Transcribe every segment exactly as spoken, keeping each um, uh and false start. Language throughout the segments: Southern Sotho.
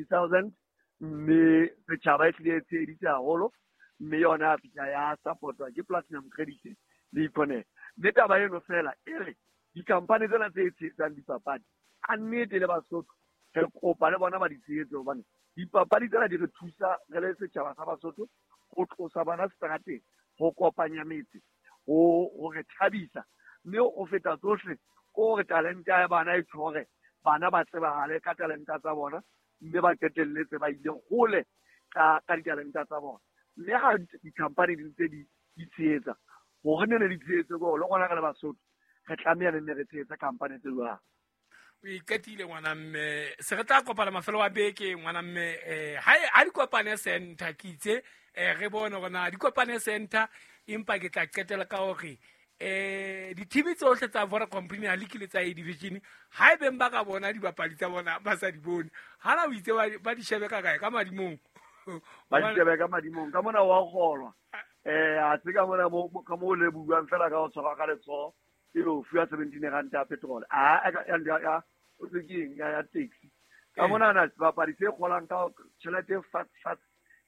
thousand mme setjhaba e tlile e tsheheditse haholo mme yona ya fihla ya support-wa ke Platinum Credit le Econet. Mme taba eno fela e re dikhampani tsena tse tshehetsang dipapadi a nnete le Basotho re kopa le bona ba di tshehetse hobane dipapadi tsena di re thusa re le setjhaba sa Basotho ho tlosa bana seterateng, ho kopanya metse, ho ho re thabisa mme ho feta tsohle ko hore talente ya bana e tshware bana ba tsebahale ka talenta tsa bona mme ba qetelletse ba ile hole ka ka ditalenta tsa bona. Mme ha dikhampani di ntse di di tshehetsa hore ne ne di tshehetse ko le rona re le Basotho re tlameha ne re tshehetse khampani tse jwang. O iqetile ngwana mme se re tla kopana mafelo a beke ngwana mme eh ha ha di kopane center ke itse eh re bone hore na di kopane center empa ke tla qetela ka hore eh di-team tsohle tsa Vodacom Premier League le tsa A Division ha e beng ba ka bona dibapadi tsa bona ba sa di bone hana o itse ba di shebe ka kae ka madimong ba di shebe ka madimong ka mona wa kgolwa eh a se ka mona mo ka mo le buang fela ka ho tshwara ka letsoho e be o fuwa seventeen rand ya petrol a ya ya o se keng ya ya taxi ka mona na sebapadi se kgolang ka tjhelete fast fast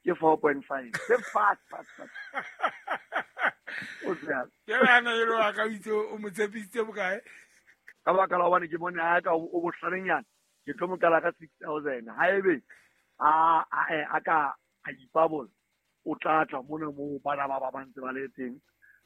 ke four point five se fast fast fast o tsaya ke bana e lo ka itse o mo tshepisitse bokae ka baka la hobane ke bone ha ka o bohlalenyana ke tlo mo qala ka six thousand ha ebe a a ka a ipabola o tla tla mona mo bana ba ba ba ntse ba le teng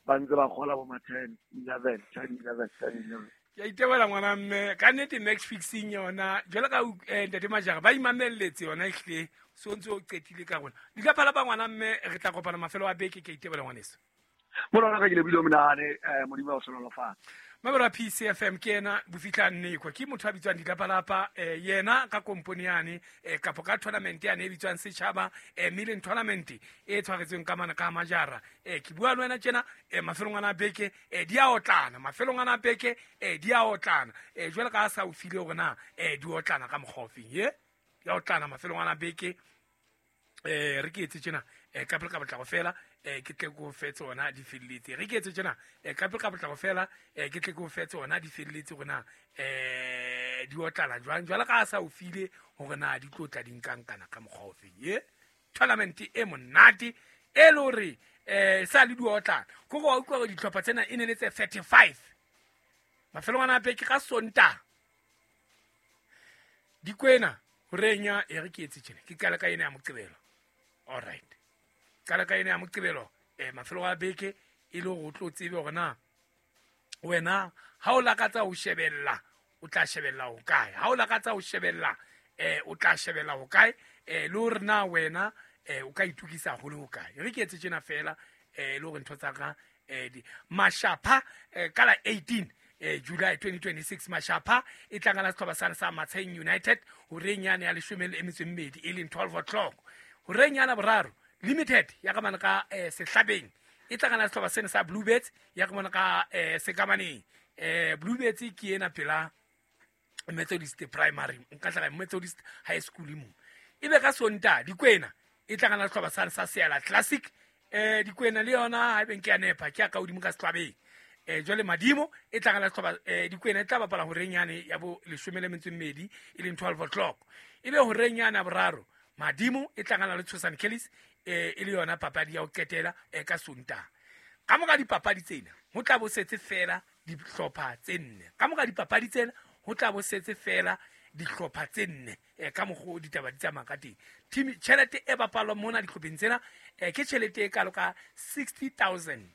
ba ntse ba kgola bo ma ten eleven ten eleven ten eleven. Ke a itebela ngwana mme ka nnete match fixing yona jwalo ka ntate Majara ba imamelletse yona ehlile so ntse o qetile ka rona di ka phala ba ngwana mme re tla kopana mafelo a beke. Ke a itebela ngwaneso mona ka ke le buile monahane Modimo wa hlonolofatsa. Mabera P C F M ke ena bofihla nnekwa ke motho a bitswang Ditlapalapa eh yena ka kompone yane eh kapo ka tournament yane e bitswang Setjhaba eh Million Tournament e tshwaretsweng ka mana ka Majara eh ke bua le wena tjena eh mafelong ana beke eh di a otlana mafelong ana beke eh di a otlana eh jwale ka sa o file hore na eh di otlana ka mokgwa ofeng ye di a otlana mafelong ana beke eh re ke etse tjena eh ka pele ka botlako fela eh ke tle go fe tsona di felletse re ke etse tjena eh ka pele ka botlako fela eh ke tle go fe tsona di felletse rona eh di otlana jwang jwale ka sa o file hore na di tlotla di nkankana ka mokgwa ofeng ye tournament e monate e le hore eh sa le di otlana go go utlwa gore ditlhopha tsena e ne le tse thirty-five mafelong ana beke ka Sontaha Dikwena horeng e re ke etse tjena ke qala ka ena ya Moqebelo. All right qala ka ena ya Moqebelo eh mafelo a beke e le hore o tlo tsebe hore na wena ha o lakatsa ho shebella o tla shebella ho kae ha o lakatsa ho shebella eh o tla shebella ho kae eh le hore na wena eh o ka itukisa hole ho kae re ke etse tjena fela eh le hore ntho tsa ka eh di Mashapha eh, ka la eighteen eh July twenty twenty-six Mashapha e tlangana setlhopha sa sa Matsheng United horeng yane ya leshome le metso e mmedi e leng twelve o'clock horeng yana boraro Limited ya ka mana ka eh, Sehlabeng e tlangana setlhopha sena sa Bluebirds ya ka mana ka eh, Sekamaneng eh Bluebirds ke ena pela Methodist Primary nka tla Methodist High School mo ebe ka Sontaha Dikwena e tlangana setlhopha sa sa Seala Classic eh Dikwena le yona ha ebe nke ya nepa ke ya ka hodimo ka Sehlabeng eh jwale Madimo e tlangana setlhopha eh Dikwena e tla bapala horeng yane ya bo leshome le metso e mmedi e leng twelve o'clock ebe horeng yana boraro Madimo e tlangana le Tshosane Kellis eh e le yona papadi ya ho qetela eh ka Sontaha ka mora dipapadi tsena ho tla bo setse fela dihlopha tse nne ka mora dipapadi tsena ho tla bo setse fela dihlopha tse nne eh ka mokgo ditaba di tsamaya ka teng team tjhelete e bapalwang mona dihlopheng tsena eh ke tjhelete e kalo ka sixty thousand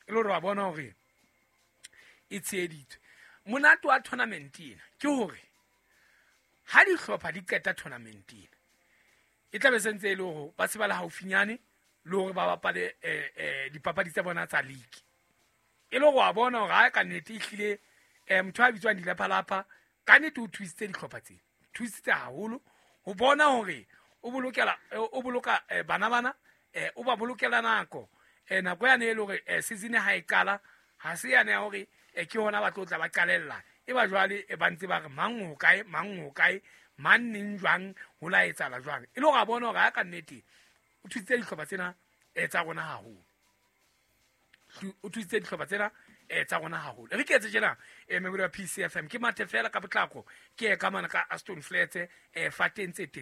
e le hore wa bona hore e tsheheditswe. Monate wa tournament ena ke hore ha dihlopha di qeta tournament ena e tla be sentse e le hore ba se ba le haufinyane le hore ba bapale eh eh dipapadi tsa bona tsa league e le hore wa bona hore ha ka nnete e hlile eh motho a bitswang Dilephalapha ka nnete o thusitse dihlopha tsena thusitse haholo ho bona hore o bolokela o boloka bana bana eh o ba bolokela nako eh nako yane e le hore season ha e qala ha se yane ya hore ke hona ba tlo tla ba qalella e ba jwale e ba ntse ba re mang ho kae mang ho kae mang neng jwang ho la etsahala jwang e le hore a bona hore ha ka nnete o thusitse dihlopha tsena eh tsa rona haholo o thusitse dihlopha tsena um tsa rona haholo. Re ke etse tjena, um memori ya P C F M, ke mathe fela ka potlako, ke ye ka mane ka Aston Flats, um fateng tse telele.